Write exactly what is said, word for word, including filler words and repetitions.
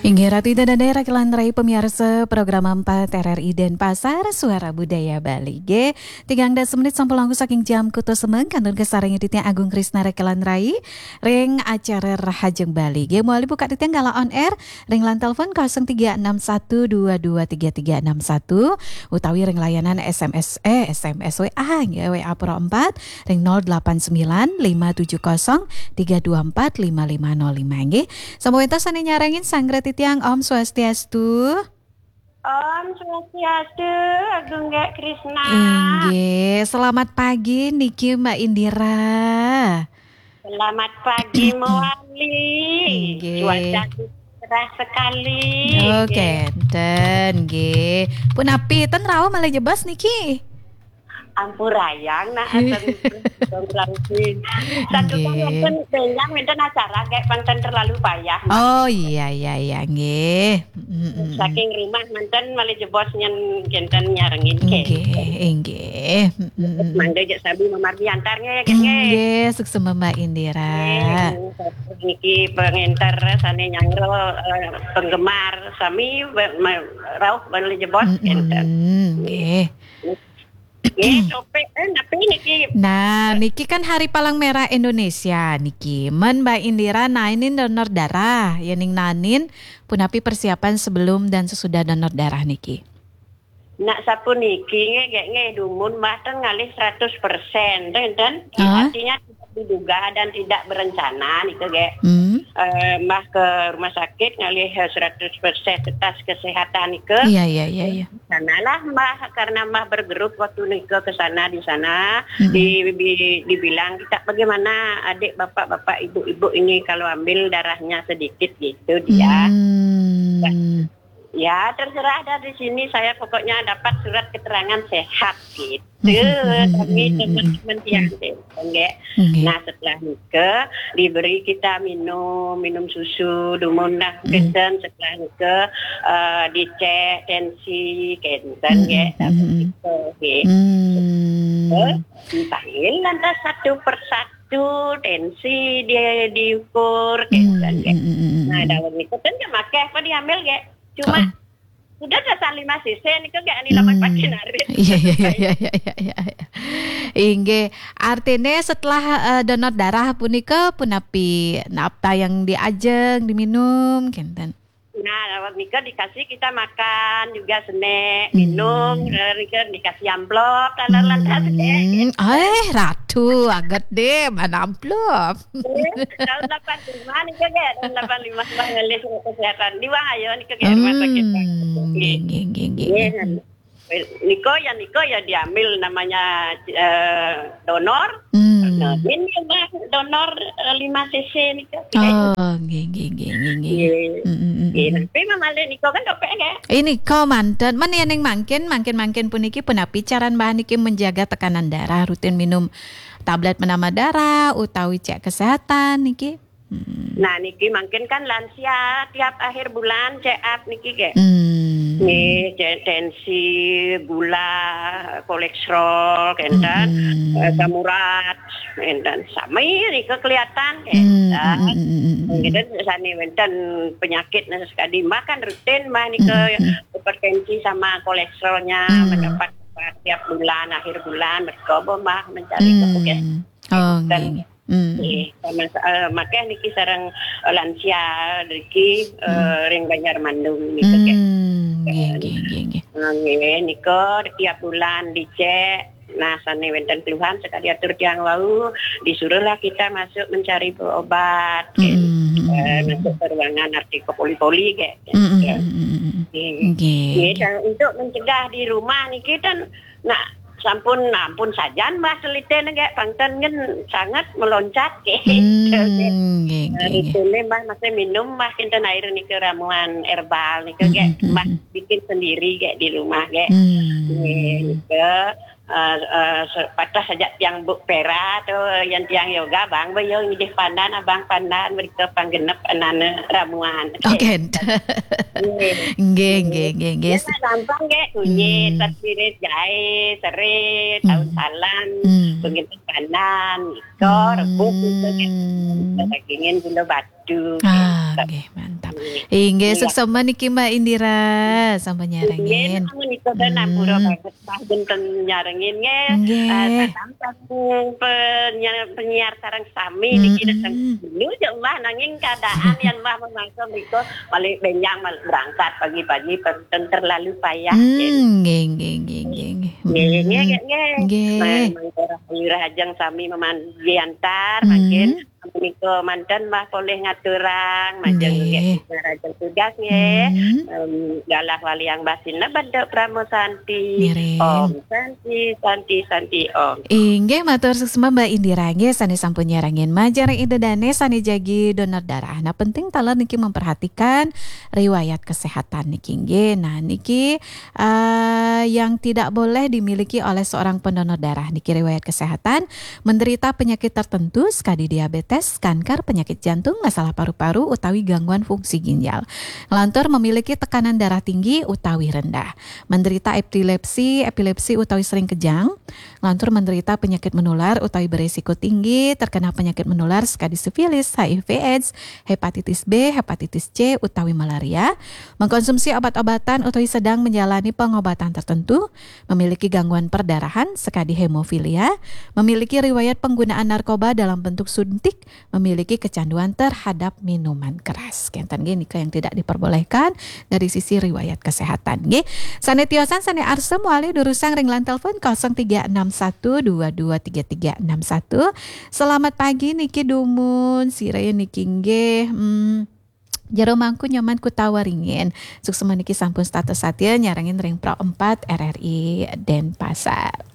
Inggih Ratu Ida Dané, Rakelan Rai pamiarsa program empat R R I Denpasar, Suara Budaya Bali. Nggih, tigang dasa menit sampun langkung saking jam kutus semeng, kantun kasarengin titiang Agung Krisna Rakelan Rai ring acara Rahajeng Bali. Nggih, malih buka titiang galah on air ring line telepon kosong tiga enam satu dua dua tiga tiga enam satu utawi ring layanan S M S, eh, S M S W A, nggih, W A Pro empat ring nol delapan sembilan lima tujuh kosong tiga dua empat lima lima nol lima, nggih. Sampun wénten sané nyarengin sanggra titiang, Om Swastiastu. Om Swastiastu, Agung Gek Krisna. Inggih, selamat pagi niki Mbak Indira. Selamat pagi, Mawali. Inggih. Cuaca cerah sekali. Oh, nggih. Kénten, nggih. Punapi, ten rauh malih jebos niki? Ampurayang, nah, ten, ten rauh. Santukan nggih. Wénten, benjang wénten acara, Gek, pang ten terlalu payah, nah. Oh, iya, iya, iya, nggih. Mm-mm. Saking rumah manten malih jebos nyen kénten nyarengin, nggih, kénten. Inggih. Mm-mm. Mangga jak sami mamargi antar, nggih, nggih. Inggih, suksma Mbak Indira. Nggih, niki pengenter sané nyanggra, eh, penggemar sami ba-, ma-, rauh malih jebos, mm-mm, kénten. Nggih. Nggih, topik, eh, napi niki? Nah, niki kan Hari Palang Merah Indonesia niki. Men Mbak Indira naenin donor darah, yéning naenin punapi persiapan sebelum dan sesudah donor darah niki? Nak sapuniki nggih, nggih, nggih, dumun Mbah ten ngalih seratus persen, ten, ten. Ah. Artinya tidak diduga dan tidak berencana nika, nggih. Hmm. Eh, Mbah ke rumah sakit ngalih, eh, seratus persen atas kesehatan nika. Iya, iya, iya, iya. Sanalah Mbah, karena Mbah bergerup waktu nika ke sana di sana, mm-mm, di, di, dibilang, "Kita bagaimana adik bapak-bapak, ibu-ibu ini kalau ambil darahnya sedikit?" gitu dia. Hmm. Ya, terserah dah di sini, saya pokoknya dapat surat keterangan sehat gitu. Tapi teman-teman tiang deh, nggih. Nggih. Nah, setelah nika diberi kita minum, minum susu, dumun dah, mm, kénten, setelah nika, eh, dicek tensi, kénten, mm, nggih, mm, tapi mm, itu, nggih. Hmm. Dipanggil lantas satu persatu, tensi dia diukur, mm, kénten, nggih. Mm, mm, mm, mm. Nah, dawuh nika kan makéh apa diambil, nggih? Cuma, oh, sudah dasar lima sisi nika, nggih, ani lamun, hmm, pagi narit. Iya, iya, iya, iya, iya, iya, iya. Inggih, artinya setelah, eh, donor darah punika punapi napa yang diajeng, diminum, kénten? Nah, lewat nika dikasih kita makan juga senek, hmm, minum, eh, nika dikasih amplop, taler lantas, hmm, eh. Eh, Ratu, aget deh, mana amplop? Eh, tahun delapan lima nih, Kak, ya. Tahun delapan lima, Mbah ngalih surat kesehatan. Di Wang Ayo nih, Kak, ya, rumah sakit, Pak. Hmm, nggih, nggih, nggih, nggih. Iya. Niko ya, niko ya diambil namanya, eh, donor. Hmm. Nah, ini Mbah donor, eh, lima sisi nih, Kak. Oh, nggih, nggih, nggih, nggih, nggih. Iya. Hmm, hmm, hmm, iya, hmm. Tapi Mbah malih niko kan dopek, nggih. Ini kok manten, men yéning mangkin, mangkin, mangkin puniki punapi caran Mbah niki menjaga tekanan darah, rutin minum tablet penambah darah utawi cek kesehatan niki? Hmm. Nah, niki mangkin kan lansia tiap akhir bulan check up niki, nggih. Hmm. Nggih, cek tensi, gula, kolesterol, kénten, hmm, eh, asam urat, kénten. Sami nika kelihatan, hmm, kénten. Hmm, hmm, hmm, hmm, hmm. Kénten sané wénten penyakit nah sekadi Mbah kan rutin Mbah nika, hmm, hmm, hmm, hipertensi sama kolesterolnya, hmm, mendapat obat tiap bulan, akhir bulan, mergo Mbah mencari, hmm, ke puskesmas. Oh, nggih, nggih. Hmm. Nggih, sama, eh, makéh niki sareng, eh, lansia niki, eh, hmm, ring Banjar Mandung niki, nggih. Hmm, nggih, nggih, nggih, nggih. Eh, nggih, nika tiap bulan dicek. Nah, sané wénten keluhan sekadi atur tiang wau, disuruhlah kita masuk mencari obat, hmm, eh, hmm, masuk ke ruangan arti ke poli-poli, nggih. Hmm, hmm, hmm, hmm, hmm. Nggih. Nggih, nggih, nggih. Dan untuk mencegah di rumah niki kan, nah, sampun, ampun sajan Mbah teliten, nggih, pangten kan sangat meloncat, nggih. Hmm, nggih, nggih, nggih. Rutine Mbah masih minum, Mbah kinten air nika ramuan herbal nika, hmm, nggih, hmm, hmm, Mbah, hmm, bikin sendiri, nggih, di rumah, nggih. Hmm. Nggih, nika, eh, eh, se-, patah saja tiang buk pera tu, yang tiang yoga, Bang, boyo ngidih pandan, Abang pandan, mereka panggenep anane ramuan. Oh, nggih. Nggih, nggih, nggih, nggih. Ya, gampang, nggih, kunyit, hmm, sirih, jahe, serai, daun, hmm, salam, hmm, penggenep pandan, iko, hmm, rebus, gitu, nggih. Dagingin gula batu, ah, gitu, nggih, mantap. Inggih, suksma niki Mbak Indira, sampun nyarengin. Nggih, menika nampura banget, Mbak, wonten nyarengin nggih. Nggih. Eh, salam saking penyiar, penyiar sareng sami niki dateng dulu ya Allah, nanging keadaan yang Mbak memaksa menika balik benjang mal-, berangkat pagi-pagi, penten terlalu payah. Hmm, nggih, nggih, nggih, nggih. Nggih, nggih, nggih, nggih. Nggih. Nah, mangke rahajeng sami memandiantar, mangkin menika manten Mbah polih ngaturang, majeng nggih, nggih, rajin tugas nggih. Hmm. Em, galah waliang basina bentuk Pramo Santi. Ngiring. Om Santi, Santi, Santi, Om. Inggih, matur suksma Mbak Indira nggih, sane sampun nyarengin. Majeng ring Ida Dane sane jagi donor darah. Nah, penting taler niki memperhatikan riwayat kesehatan niki nggih. Nah, niki eh, yang tidak boleh dimiliki oleh seorang pendonor darah niki riwayat kesehatan, menderita penyakit tertentu sekadi diabetes, kanker, penyakit jantung, masalah paru-paru utawi gangguan fungsi ginjal. Nglantur memiliki tekanan darah tinggi utawi rendah, menderita epilepsi, epilepsi utawi sering kejang, nglantur menderita penyakit menular utawi beresiko tinggi terkena penyakit menular sekadi sifilis, H I V AIDS, hepatitis B, hepatitis C utawi malaria, mengkonsumsi obat-obatan utawi sedang menjalani pengobatan tertentu, memiliki gangguan perdarahan sekadi hemofilia, memiliki riwayat penggunaan narkoba dalam bentuk suntik, memiliki kecanduan terhadap minuman keras. Kenten nggih nika yang tidak diperbolehkan dari sisi riwayat kesehatan nggih. Sane tiosan sane arsa malih durusang ring line telepon kosong tiga enam satu dua dua tiga tiga enam satu. Selamat pagi niki dumun, sira niki nggih. Hmm, Jero Mangku Nyoman Kuta Waringin. Suksma niki sampun setata satya nyarengin ring Pro empat R R I Denpasar.